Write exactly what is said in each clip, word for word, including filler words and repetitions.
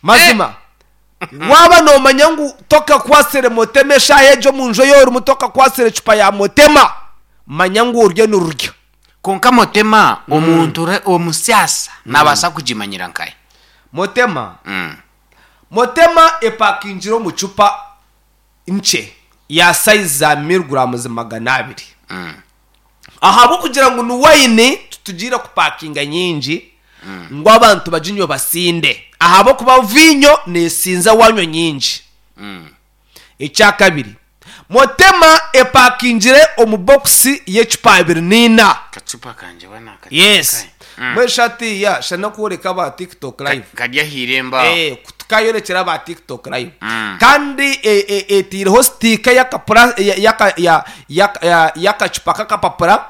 Mazima waaba noomanya ngu tokakwasire motema eshaaha egyo omu nju ei orimu, tokakwasire ecupa ya motema, manya ngu oriyo nirurya. Kwonka motema omuntu omusyasa naabaasa kugimanyira nkahi? Motema Motema epakingire omu cupa nkye ya sayizi za miriguraamuzi magana abiri. Ahabw'okugira ngu ni waini titugiire kupakinga nyingi ngu abantu baginywe basinde ahabw'okuba viinyo neesinza waanywa nyingi. Ekyakabiri, Motema epakingire omu bokisi y'ecupa abiri n'eina. Kacupa kangye wa nakateeka Yes. nkahi? Mm. Mbwenu shi hatiiya shana n'okworeka aba TikTok Ka- live. Kari aha irembo aho. Eh, tukayorekyera aba TikTok live. Mm. Kandi e- e- eteireho sitiika y'akapura ya- yaka- ya- ya- ya- y'akacupa k'akapapura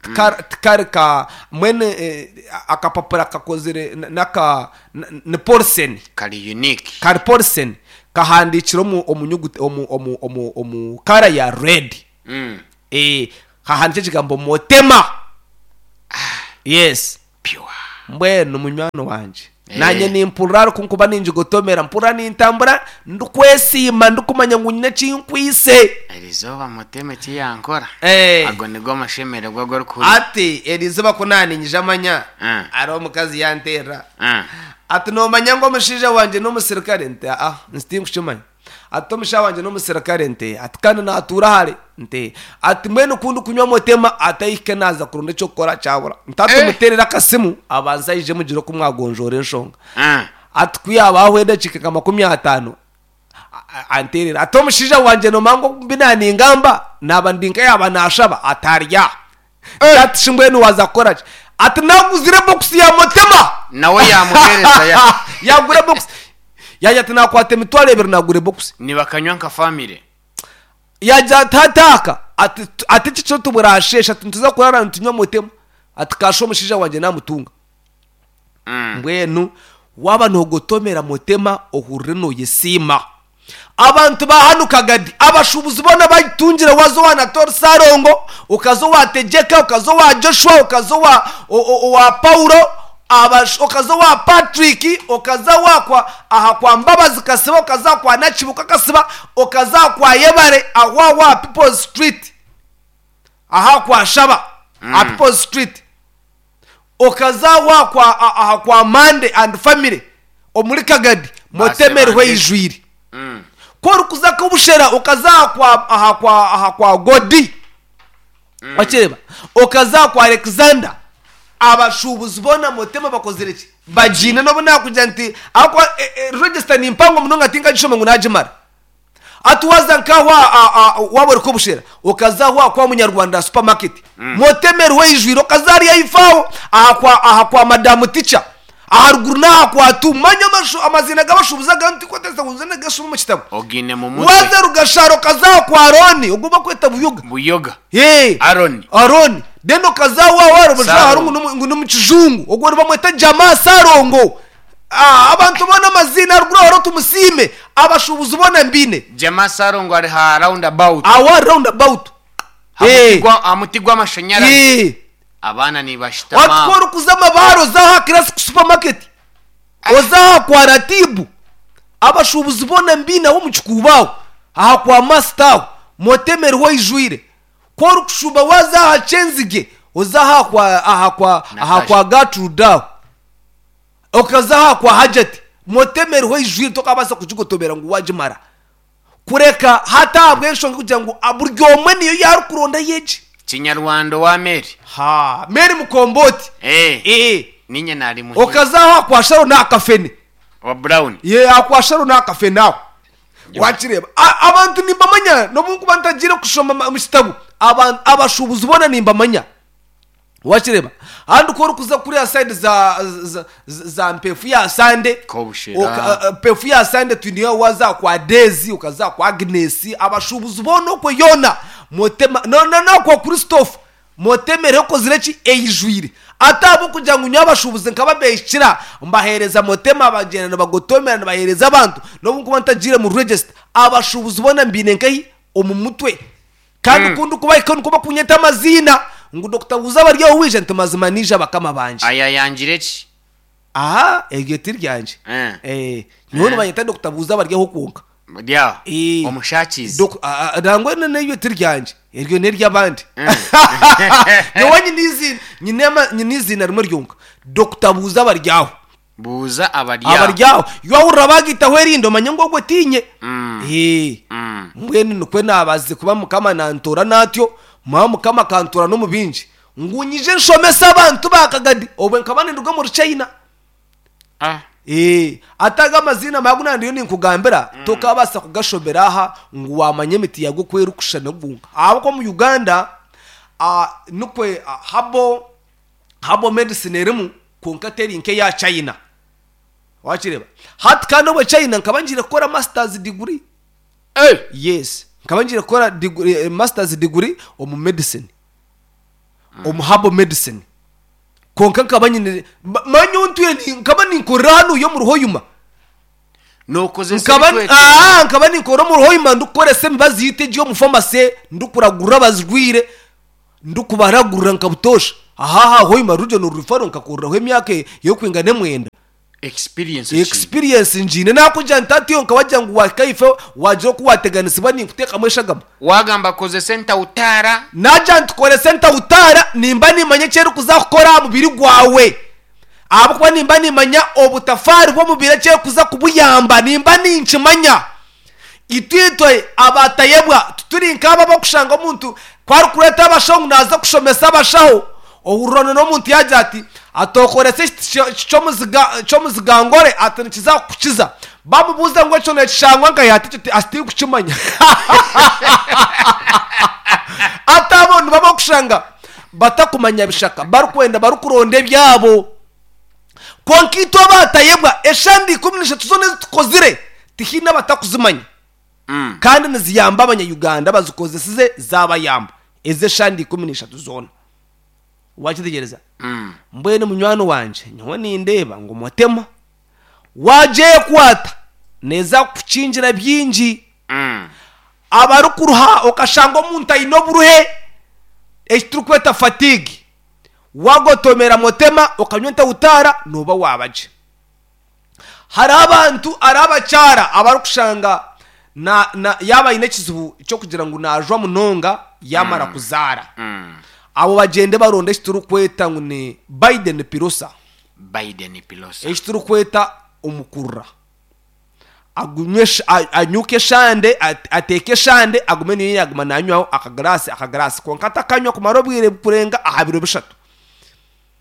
tikari tikari ka mbwenu eh, akapapura kakozire na- n'aka n- ni poriseni. Kari unique. Kari poriseni kahandiikire omu omu nyuguta omu omu omu omu kara ya red. Mm. Eh, hahandiikire ekigambo Motema. Yes. Pure. Mbwenu munywani wangye, Eh. naanye nimpurira ariko nkuba ningigotomera, mpurira nintambura ndikwesiima ndikumanya ngu nyine eki nkwitse. Erizooba Motema eki yankora. Eh. Ago nigo amashemererwa agu orikuhurira. Ati erizooba ku naaninyija amanya, Mm. hariho omukazi yanteerera. Mm. Ati noomanya ngu omushaija wangye n'omusirikare? Nti aa, nti tinkukimanya. Ati omushaija wangye n'omusirikare? Nti ati kandi naatuura hare? Nti ati mbwenu ku ndikunywa Motema ati ahike naaza kuronda eky'okukora kyabura. Nti ati Eh. muteerere akasimu abanze aije mugire oku mwagonjoora enshonga. Mm. Ati ku yaaba ahwa edakiika nka makumi ataano a- a- anteerere. Ati omushaija wangye noomanya ngu obu naaningamba naaba ndi nka yaaba naashaba ati arya. Nti ati shi mbwenu waaza kukora ki? Ati naaguzire bokisi ya Motema. Nawe yaamuheereza ya. Yaagura ebokisi. Yaagira ati naakwata emitwaro ebiri naagura ebokisi. Nibakanywa nka famire. Yaagira ati hati aka ati ati eki kiro tiburaasheesha ati nituza kuraara nitunywa Motema. Ati kaasha omushaija wangye naamutunga. Mm. Mbwenu waaba noogotomera Motema ohurire nooyesiima. Abantu ba hanu Kagadi abashuubuzi boona bagitungire waaza owa Natori Ssalongo, okaza owa Tegyeka, okaza owa Joshua, okaza owa o- o- owa Paulo, abash- okaza owa Patrick, okaza owa kwa aha kwa Mbabazi Kasiba, okaza aha kwa Nakibuka Kasiba, okaza aha kwa Yebare aho aho aha People's Street, aha kwa Shaba, aha People's Street. Okaza aho aha kwa aha kwa Mande and Family omuri Kagadi, Motema eriho bande. eijwire. Mm. Ku orikuza kubushera okaza aha kwa aha kwa aha kwa Godi. Wakireeba? Okaza aha kwa Alexander. Abashuubuzi boona Motema bakozire ki? Bagiine n'obu naakugira nti ahabw'okuba e- e, register ni mpango munonga tinkagishoma ngu naagimara. Hati waaza nk'aho a- a- a- waaba ori kubushera okaza aho aha kwa Munyarwanda supermarket. Motema eriho eijwire okaza hariya ahaifo aho aha kwa aha kwa Madamu Teacher. Aharuguru n'aha kwa Tu. Manya amashu amaziina g'abashuubuzi aga tinkwetengyesa ngu nze nagashome omu kitabo. Ogiine mu mutwe. Waaza Rugashara okaza aha kwa Arooni ogu bakweta Buyoga. Buyoga. Hey. Aroni. Aroni. Then okaza aho aho hariho Sarongo. hariho ngu n'omu- ngu n'omu kijungu ogwo nibamweta Jamaa Sarongo. Ah, abantu boona amaziina haruguru aho hariho Tumusiime abashuubuzi boona mbiine. Jamaa Sarongo ari ha round about. Aho aha round about. Ha muti Eh. gwa- ha muti gw'amashanyarazi. Eh. Abaana nibashutama Wati ku aho. orikuza Amabaare oza aha Classic Supermarket, oza aha kwa Ratibu, abashuubuzi boona mbiine aho omu kikuubo aho, aha kwa Master aho, Motema eriho eijwire. Ku orikushuuba waaza aha Kyenzige, oza aha kwa aha kwa aha Natasha. kwa Gertrude aho, okaza aha kwa Hajati, Motema eriho eijwire tokabaasa kugigotomera ngu waagimara. Kureka hati ahabw'enshonga kugira ngu buri omwe niyo yaarikuronda yegi. Kinyarwanda owa Mary. Ha, Mary Mukomboti. Eh. Eh. Ninye nari muhire. Okaza aho kwa Sharon akafene. Wa Brown. Ye akwa Sharon akafene aho. Wakireeba. A- Abantu nimbamanya n'obu nkuba ntagiire kushoma ma- mu kitabo. Abantu abashuubuzi boona nimbamanya. Wakireeba. Ahandi ku orikuza kuriya side za za, za, za Mpefu ya Sande. Kobushera. Oka- a- Mpefu ya Sande twiniyo waza kwa Daisy, ukaza kwa Agnes, abashuubuzi boona okwe yoona. Motema no no no kwa Christophe. Motema eriho ekozire ki eijwire. Ate ahabw'okugira ngu nyowe abashuubuzi nkaba mbehikira mbaheereza Motema bagyenda nibagotomera nibaheereza abantu n'obu nkuba ntagiire mu register abashuubuzi boona mbiine nkahi omu mutwe. Kandi Mm. ku ndikubahika nikwo bakunyeta amaziina ngu Dokita Buuza bari aho waija nti mazima niija bakama bangye. Aya yangire ki? Aha, eryo ti ryangye. Eh. Eh, nyowe nibanyeta Doctor Buuza Abaryaho kwonka. Ryaho. Eh. Omushakizi. Dok- a- a- nangwa na- n'eryo ti ryangye, eryo n'ery'abandi. Nyowe nyine izina, nyine ama- nyine izina rimwe ryonka, Doctor Buuza Abaryaho. Buuza Abaryaho. Abaryaho, yawurira bagitaho erindi, omanye ngu ogwo tinye. Mm. Eh. Mm. Mbwenu nikwe nabazize kuba Mukama nantora natyo, mwa Mukama akantora n'omu bingi ngu nyije nshomese abantu bakagadi, obwe nkaba ninduga omuri China. Ah. Eh, ataga amazina magu nandiyo ninkugambira, tokabasa kugashobera aha ngu wamanya emiti yago kwera okushana gunka, ahabw'okuba mu Uganda, ah, nikwe, ah, habo habo medicine erimu, kwonka teri nk'eya China. Wakireba hati kandi obwe China nkaba ngiire kukora masters degree. Eh. Yes, nkaba ngiire kukora degree, eh, masters degree omu medicine, omu herbal medicine, kwonka nkaba nyine ma- manya ontuye ni- nkaba ninkorera hanu yo mu Ruhoyuma. Nokozesa Nkaba ebitwekero. Ah, nkaba ninkora omu Ruhoyuma, ndikukoresa emibazi yitu egi omu pharmacy, ndikuragurira abazirwire, ndikubaragurira nkabutosha aha ha Hoyuma Regional Referral, nkakoreraho emyaka yokwingana emwenda. Experience ki? Experience ngiine, nakugira nti atiyo nkabagira ngu wakaife wagira oku wateganisibwa ninkuteekamu eshagama. Wagamba kozesa entautara. Nagira nti koresa entautara, nimba nimanya ekyerikuza kukora aha mubiri gwawe, ahabw'okuba nimba nimanya obutafaari bw'omubiri ekyerikuza kubuyamba, nimba ninkimanya. Itwitwe abatayebwa tuturi nk'aba abakushanga omuntu kwarikureeta abashaho ngu naaza kushomesa abashaho, ohururana n'omuntu yagira ati atokoresa ekiti ky'omuziga- ky'omuzigangore, ati nikiza kukukiza. Bamubuuza ngu ekyo nekishangwa nkahi, ati ekyo ti- ati kukimanya. Ati abo nibaba kushanga batakumanya bishaka, barikwenda barikuronda ebyabo. Kwonka itwe abatayebwa, eshandi ikumi n'eshatu zona ezitukozire tihiine abatakuzimanya. Mm. Kandi niziyamba abanya-Uganda bazikozesize zabayamba, ezi eshandi ikumi n'eshatu zona. Wakitegereza? Mm. Mbwenu munywani wangye, nyowe nindeeba ngu mutema wagyekwata neeza kukukingira bingi. Mm. Abarikuruha, okashanga omuntu aine oburuhe, eki turikweta fatigue, wagotomera mutema okanywa entautara, noba wabagye. Hari abantu, ari abakyara abarikushanga na, na yaba aine ekizibu ky'okugira ngu najwa munonga yamara kuzaara, Mm. abo bagende baronde eki turikweta ngu ni Biden pirosa. Biden pilosa. Eki turikweta omukurura, agunywe sh- a- anyuke eshande, at- ateeke eshande, agume niyo yaguma nanywaho akagarasi akagarasi, kwonka atakanywa kumara obwire bukurenga aha biro bishatu.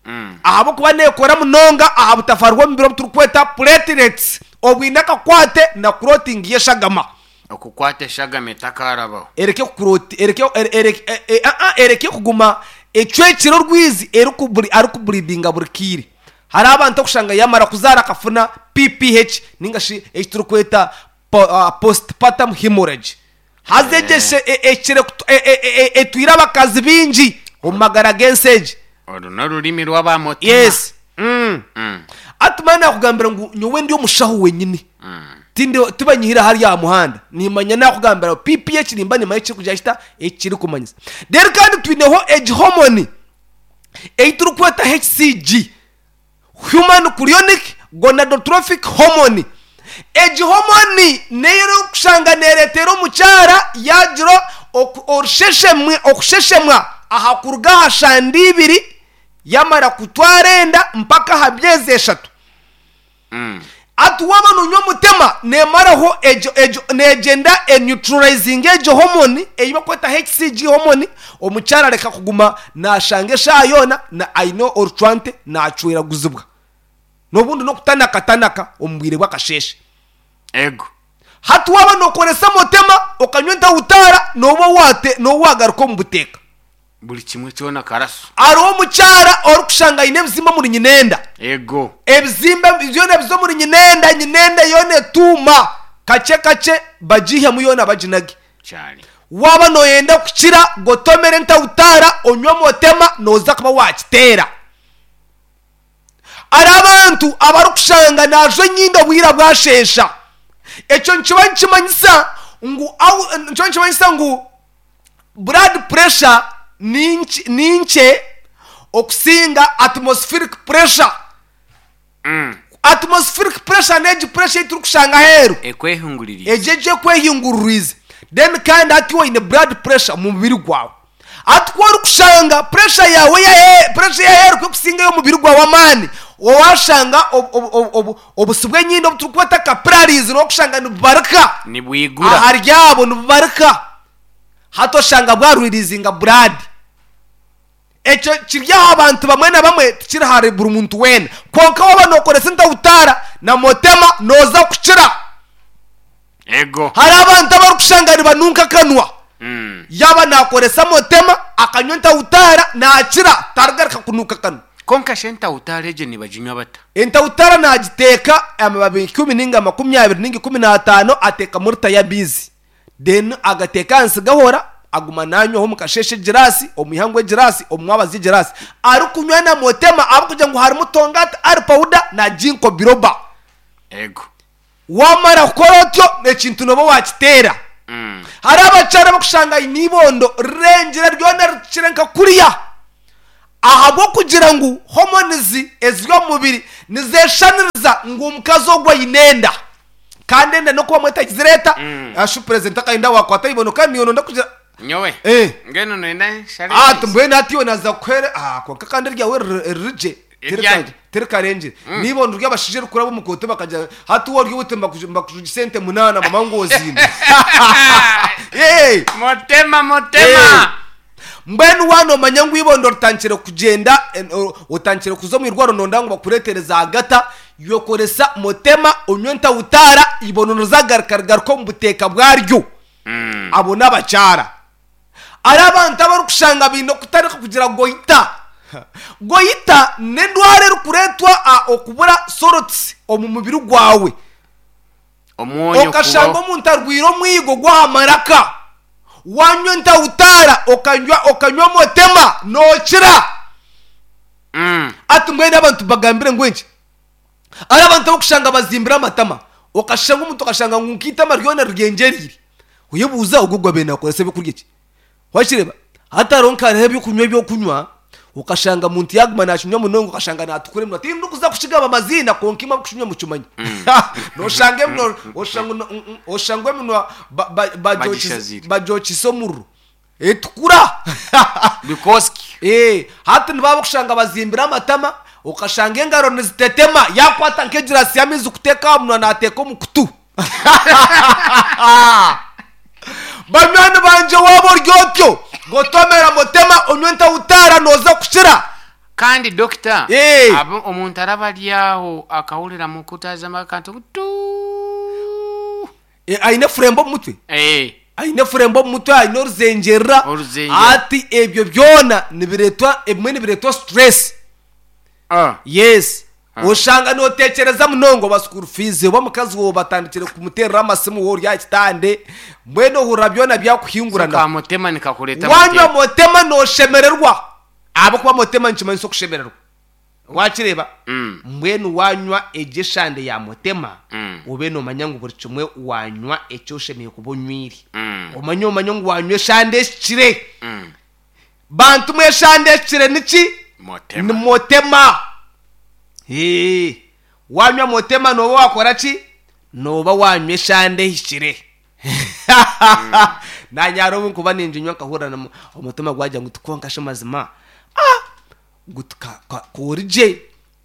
Mm. Ahabw'okuba neekora munonga aha butafaari bw'omubiri obu turikweta platelets, obwine akakwate na clotting y'eshagama. Okukwata eshagama etakarabaho. Ereke kukuroti, ereke ere- ere- e- e- a- a, ereke kuguma ecwekire orwizi erikuburi arikuburidinga buri kiire. Hari abantu okushanga yamara kuzaara akafuna P P H, ninga shi eki turikweta po- ah, postpartum hemorrhage, haza egyeshe e- ekire kutu- e- e- e- e- etwire abakazi bingi omu magara g'ensi egi. Oru n'orurimi rw'abamutima. Yes mm. Mm. Ati mani nakugambira ngu nyowe ndi omushaho wenyini, Mm. tindi tibanyihira hariya aha muhanda, nimanya nakugambira P P H, nimba nimanya ekiri kugira kita ekiri kumanyisa. Rero kandi twineho egi hormone ei turikweta H C G, human chorionic gonadotrophic hormone. Egi hormone neyo erikushanga nereetera omukyara yagira oku- orusheshemwe, okusheshemwa aha kuruga aha shanda ibiri yamara kutwara enda mpaka aha myezi eshatu. Mm. Ati waba nonywa omutema, nemaraho egyo egyo negyenda eneutralizing egyo hormone ei bakweta H C G hormone, omukyara areka kuguma nashanga eshaaha yoona na aine orucwante nacweraguzibwa n'obundi n'okutanakatanaka omu bwire bw'akasheeshe. Ego. Hati waba nokoresa mutema okanywa entautara, noba wate noba wagaruka omu buteeka. Buri kimwe kyona karaso. Hariho omukyara orikushanga aine ebizimba omuri nyinenda. Ego. Ebizimba byona biza omuri nyinenda, nyinenda yoona etuuma kakye kakye, bagihemu yoona baginage. Cyane. Waba noyenda kukira, gotomera entautara, onywe motema, noza kuba wakiteera. Hari abantu abarikushanga najwa enyindo obwira bwashesha, ekyo nikiba nikimanyisa ngu au- nikiba nikimanyisa ngu blood pressure ni nki- ni nkye okusinga atmospheric pressure. Mm. Atmospheric pressure n'egi pressure ei turikushanga aheeru. Ekwehinguririize. Egyo egyo ekwehinguririize. Then kandi hati oine blood pressure omu mubiri gwawe. Hati ku orikushanga pressure yaawe ey'ahe- pressure y'aheeru ku erikusinga ey'omubiri gwawe amaani, waashanga obu- obu- obu- obu- obusi bw'enyindo obu turikweta capillaries n'okushanga nibubarika. Nibwigura. Ahari abo nibubarika. Hati oshanga bwarwirizinga blood. Ekyo kiri aha bantu bamwe na bamwe, tikiri ahari buri muntu weena. Kwonka waaba nookoresa entahutaara na motema, nooza kukira. Ego. Hariho abantu abarikushanga nibanunka akanwa. Mm. Yaaba naakoresa motema, akanywa entahutaara, naakira, tarigaruka kunuuka akanwa. Konka shi entahutaara egyo nibaginywa bata? Entahutaara naagiteeka amababi ikumi ninga makumi abiri ninga ikumi n'ataano, ateekamu rita y'amaizi. Then agateeka ahansi gahora, aguma nanywaho omu kasheeshe egiraasi, omu ihangwe egiraasi, omu mwabazyo egiraasi. Arikunywa na motema ahabw'okugira ngu harimu tongati ari powder na ginkgo biloba. Ego. Wamara kukora otyo, ekintu nooba waakiteera. Mm. Hariho abakyara abarikushanga aine eibondo rirengire ryona rikire nka kuriya. Ahabw'okugira ngu hormones eziri omu mubiri nizeeshaniriza ngu omukazi ogwo aine enda. Kandi enda n'okuba mbwenu etagizireeta, Mm. ashu president akayenda waakwata eibondo kandi niiwe nooyenda kugira Nyowe. Eh. Mbwenu noyenda nshare Ah, amaizi? mbwenu hati iwe naaza kukuheere ah, kwonka kandi eryawe riri- riri gye. Eryange. Tirikarengyere. N'ibondo ry'abashaija erikuraba omu kooti bakagira hati wowe ori oti mbakuju- mbakujugisa ente munaana mama ngu oziine. Hey! Motema motema. Eh. Mbwenu wanomanya ngu ibondo ritandikire kugyenda, en- o- otandikire kuza omu irwariro nonda ngu bakureetere zaagata, yokoresa motema, onywe ntawutaara, ibondo nizagaruka rigaruka omu buteeka bwaryo. Mm. Abo n'abakyara. Hariho abantu abarikushanga baine okutandika kugira goita. Goita n'endwara erikureetwa ah, okubura salts omu mubiri gwawe. Omwonyo Okashanga kubaho. omuntu arwire omwigo gw'aha maraka. Wanywa entawutaara, okanywa okanywa motema, nookira. Mm. Ati mbwenu abantu bagambire ngu enki? Hariho abantu abarikushanga bazimbire amatama. Okashanga omuntu okashanga ngu nk'eitama ryona riryengyerire. Oyebuuza ogwo gwabaire naakoresa ebyokurya ki? Wakireeba? Hati hariho nka hariho ebyokunywa ebyokunywa, okashanga muntu yaaguma naakinywa munonga okashanga naatukura eminwa. Tindikuza kukigamba amaziina kwonka imwe abarikukinywa mukimanye. Nooshanga eminwa oshanga oshanga eminwa ba- ba- bagyokize Bagishazire. bagyokize omuriro. Etukura. Because ki? Eh, hati nibaba bakushanga bazimbire amatama, okashanga engaro nizitetema, yakwata nk'egirasi y'amaizi kuteeka aha munwa naateeka omu kutu. Banywani bangye waaba ori otyo, gotomera motema, onywe entahutaara nooza kukira. Kandi dokita, Eh. abo omuntu araba ari aho akahurira mukutazamu akantu tu. Eh, aine furembo omu mutwe. Eh. Aine furembo omu mutwe, aine oruzengyerera. Oruzengyerera. Ati ebyo byona nibireetwa, ebimwe nibireetwa stress. Ah. Yes. Ah. Oshanga nootekyereza munonga oba school fees, oba omukazi waawe batandikire kumuteerera amasimu wowe ori aha kitande, mbwenu ohurira byona byakuhingurana. Ka motema nikakureeta Wanywa motema. motema nooshemererwa. Ahabw'okuba motema nikimanyisa okushemererwa. Wakireeba? Mm. Mbwenu wanywa egyo eshande ya motema, Mm. obe noomanya ngu buri kimwe wanywa eki oshemereire kuba onywire. Mm. Omanye omanye ngu wanywa eshande ehikire. Mm. Bantu mwe eshande ehikire niki? Motema. Ni motema. Ee, wanywa motema nooba wakora ki? Nooba wanywa eshande ehikire. Naanye hariho obu nkuba ninginywa nkahurira na- omutima gwagira ngu tikwonka shi mazima. Ah! Ngu tuka- ka- kori gye.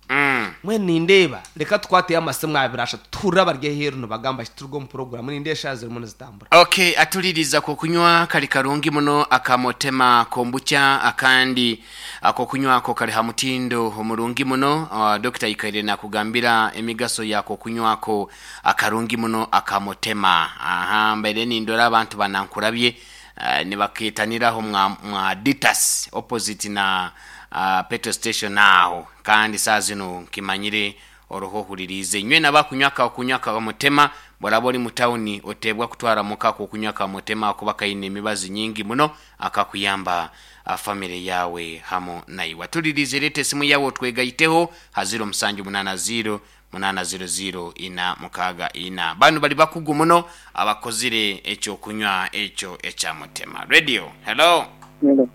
Mm. Mbwenu nindeeba reka tukwateyo amasimu abiri ashatu tuhurire abari aheeru nibagamba ki turuga omu puroguramu nindeeba eshaaha zirimu nizitambura. Okay, atuliriza kokunywa kali karungi muno akamotema kombucha akandi akokunywa ako kali ha mutindo omurungi muno. Uh, Dokita ikaire nakugambira emigaso yako kunywako akarungi muno akamotema. Aha, mbere nindora abantu banankurabye uh, nibaketaniraho mwa, mwa Ditas opposite na uh, petrol station aho, kandi saa zino nkimanyire oruho huririze nywe nabakunywa ka kunywa ka mutema boraba ori mu tawuni otebwa kutwara muka ko kunywa ka mutema kuba kaine emibazi nyingi muno akakuyamba family yawe hamo naiwe. Tulirize lete esimu yawe otwegayiteho ha ziro musanju munana ziro munana ziro ziro ina mukaga ina. Banu bali bakugu muno abakozire ekyo kunywa ekyo ekya mutema. Radio, hello. Hello.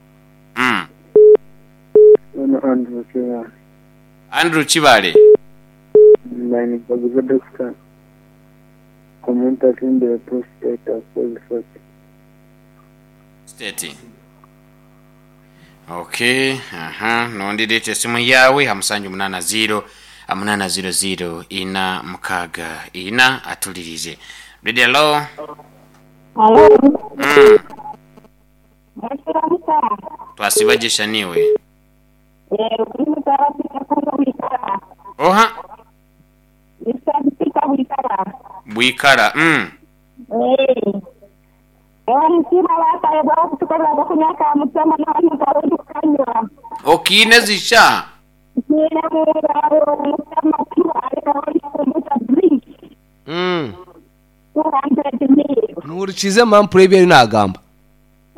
Mm. Ono Andrew Kibale. Andrew Kibale. Mbaine dokita omuntu afimbire prostate akozesa ki? State. Okay, aha, nondireeta esimu yawe ha musanju munana ziro munana ziro ziro ina mukaga ina atulirize. Radio hello. Halo, Mm. mwasiramuka. Twasibagisha niwe. Eh, kuri mutara kuno wikara. Oha, Nisabika wikara. bwikara. Mm. Eh. Ewa mukima bataye bwa kutukorera kunyaka mutsama na mutarundi kanywa. Okine zisha. Nina mugaro mutsama tu areka wali kumbuta drink. Mm. two hundred mil. Nuhurikize mampure ebyo nagamba.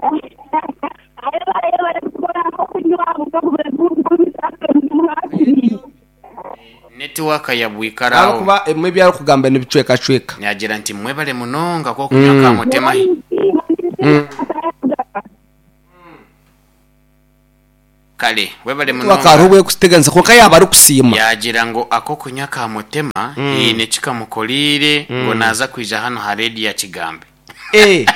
Ayo ayo bari kukora ko kunywa mukabure bw'ubwo Network ya bwikara aho. Abakuba emwe byari kugamba nibicweka cweka. Nyagira nti mwebale munonga ko kunyaka mutema. Kale, webale munonga. Wakaruwe kusiteganisa konka yaba ari kusiima. Yagira ngo ako kunywa ka mutema mm. ine kikamukolire ngo naza kwija hano ha radio ya Kigambe. Eh,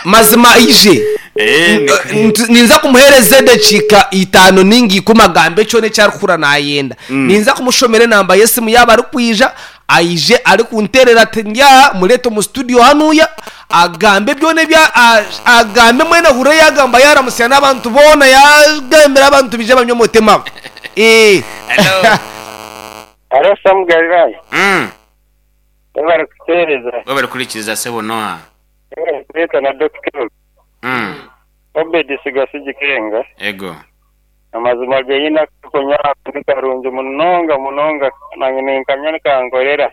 mazima ije. Eh, N- ninza kumuhereza edakika itano ningi kumagambo kyona ekyarikukura nayenda. Ninza kumushomera enamba y'esimu yaba arikwija aije arikunterera ati ndya murete omu studio hanuya agambe byona ebya a- agambe mwene hure yagamba yaramusya n'abantu boona yagambira abantu bije banywa omutima. Eh. Hello. Alo Sam Galilaya, Mm. bari kutereza, Webale kurikiriza sebo Noah. bari kureta na Doctor Mm. Obedi Sigasigikenga. Ego. Amazima genyina kunywa ni karungi munonga munonga nanye ninkanywa nikankorera.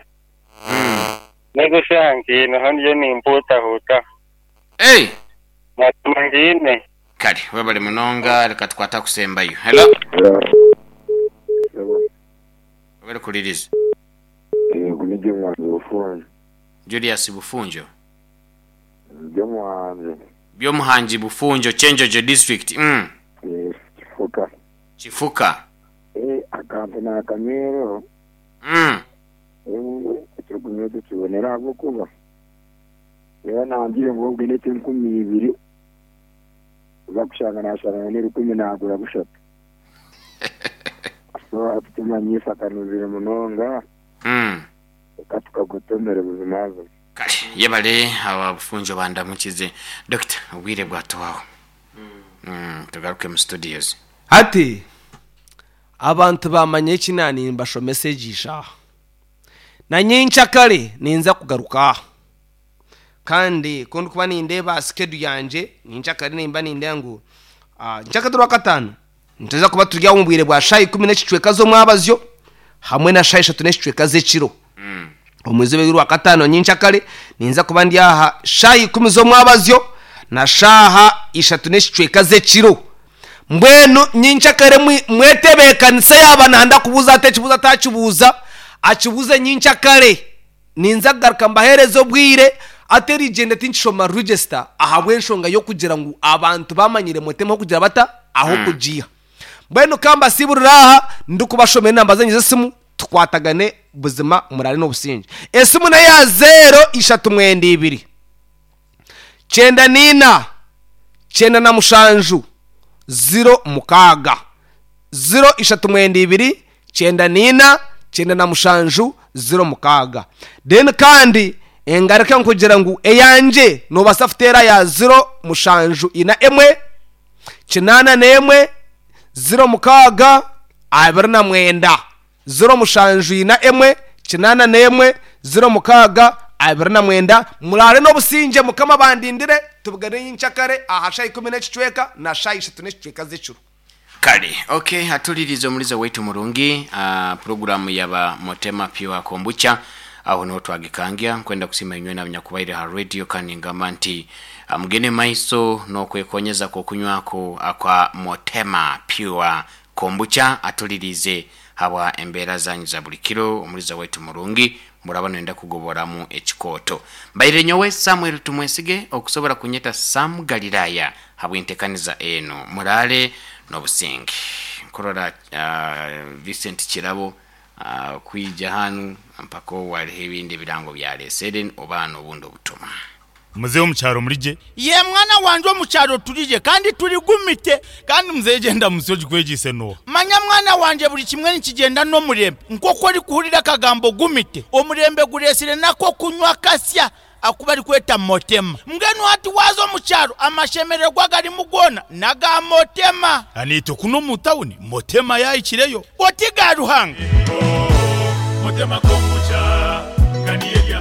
Mm. Nezoshanki naho ndiyo nimputahuta. Hey, Mazima ngine. kale webale munonga reka tukwata kusembayo. Hello. Webale kuliriza. Yego nijye mwanzi bufunjo. Julius Bufunjo. Nijye mwanzi. Byomuhanji Bufunjo Chenjojo district. Mm. Eh, Kifuka. Kifuka. Eh, akantu nakamero. Mm. Eh, ekyokunywa tukibonera ahabwokuba. Era nangire ngu obwine enkumi ibiri. Uza kushanga nashanga n'erukumi nagura bushatu. So atutumanyisa akanuzire munonga. Mm. Reka tukagutomere buzima buzima. Kale yebale aba Bufunjo bandamukize. Doctor obwire bwatuwaho. Mm, tugaruke mu studios. Ati abantu bamanye ekinani mbashomesa egisha na nyenkyakare ninza kugaruka kandi ko ndikuba nindeeba schedule yanje nyenkyakare nimba nindeba ngu ah, nkyakare rwakataano nituza kuba turi aho omu bwire bwa shaaha ikumi n'ekicweka z'omwabazyo hamwe na shaaha ishatu n'ekicweka z'ekiro. Mm. Omwezi rwakataano nyenkyakare ninza kuba ndi aha shaaha ikumi z'omwabazyo na shaaha ishatu n'ekicweka z'ekiro. Mbwenu nyenkyakare mwetebeekanise yaba nanda kubuuza ate ekibuuzo atakibuuza akibuuze nyenkyakare ninza kugaruka mbaheereze obwire ate erigyenda tinkishoma register ahabw'enshonga y'okugira ngu abantu bamanyire mutema kugira bata aho kugiha. Mbwenu kambasiburira aha ndikubashomera enamba zanyu z'esimu tukwatagane buzima murare n'obusinge. Esimu nayo ya zero ishatu mwenda ibiri kyenda nina kyenda na mushanju ziro mukaga ziro ishatu mwenda ibiri kyenda nina kyenda na mushanju ziro mukaga. Then kandi engaruka nkugira ngu eyanje nobasa futera ya ziro mushanju ina emwe kinana n'emwe ziro mukaga abiri na mwenda ziro mushanju ina emwe kinana n'emwe ziro mukaga abiri na mwenda. Murare n'obusinge mukama bandindire tubugane nyenkyakare aha shaaha ikumi n'ekicweka na shaaha ishatu n'ekicweka z'ekiro. Kale, okay, atulirize omulizo waitu murungi uh, programu yaba Motema Pure Kombucha aho niho twagikangia kwenda kusima inywe n'abanyakubaire ha radio kandi ngamba nti ah, mugende maiso n'okwekonyeza kokunywako akwa Motema Pure Kombucha atulirize habwa embeera zanyu za buli kiro omulizo waitu murungi muraba nenda kugoboramu ekikooto. Mbaire nyowe Samuel Tumwesige okusobora kunyeta Sam Galilaya habw'entekaniza eno murale n'obusinge. Nkurora uh, Vincent Kirabo ah, kwija hanu mpaka waliho ebindi ebirango byaresere oba n'obundi obutuma. Muzehe omukyaro murije? Ye mwana wanje, omukyaro turije kandi turigumite. Kandi muzehe genda musi ogikwegise noha? Manya mwana wanje, buri kimwe nikigenda n'omurembe. Nk'oku orikuhurira akagambo gumite, omurembe guresire nako kunywa kasya akuba arikweta Motema. Mbwenu hati waza omukyaro, amashemererwa garimu goona naga Motema. Aniitwe kuno omu tawuni Motema yahikireyo. Oti ga Ruhanga.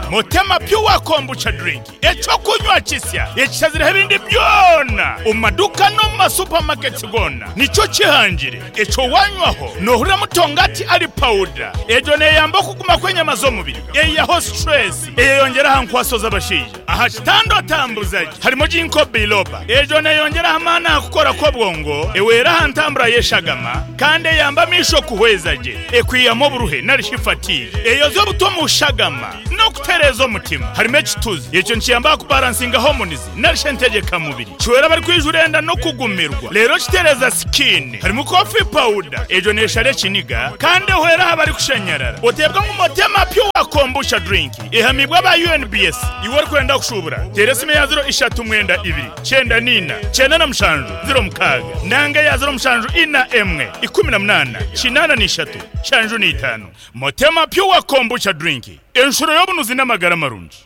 Motema Pure Kombucha drink, ekyokunywa kisya ekishazireho ebindi byona omu maduka n'omu masupamaketi gona. Nikyo kihangire ekyo wanywaho nohurira mutongati ali pawuda. Egyo neyamba okuguma kw'enyama z'omubiri, eyiyaho stress, eyeyongera aha nkwaso z'abashaija aha kitanda otambuzagi. Harimo ginkgo biloba, egyo neyongera amaani aha kukora kw'obwongo, ewera aha ntambura y'eshagama, kandi eyamba amaisho kuhweza gye, ekwihamu oburuhe narishi fatigue, eyoza obuto mu shagama n'okutereeza omutima. Harimo ekituzi, ekyo nikiyamba kubalansinga hormones narishi entegekamubiri, kiwera abari enda n'okugumirwa, rero kitereza skin. Harimo coffee powder, egyo neshara ekiniga kandi ehwera aha bari kushanyarara. Oteebwa ngu Motema Pure Kombucha drink ehamibwa aba U N B S. Iwe orikwenda kushubura, tera esimu ya ziro ishatu mwenda ibiri cyenda nina cyenda na mushanju ziro mukaaga nanga ya ziro mushanju ina emwe ikumi na munana kinana n'ishatu shanju n'itanu. Motema Pure Kombucha drink, enshuro y'obunuzi n'amagara marungi.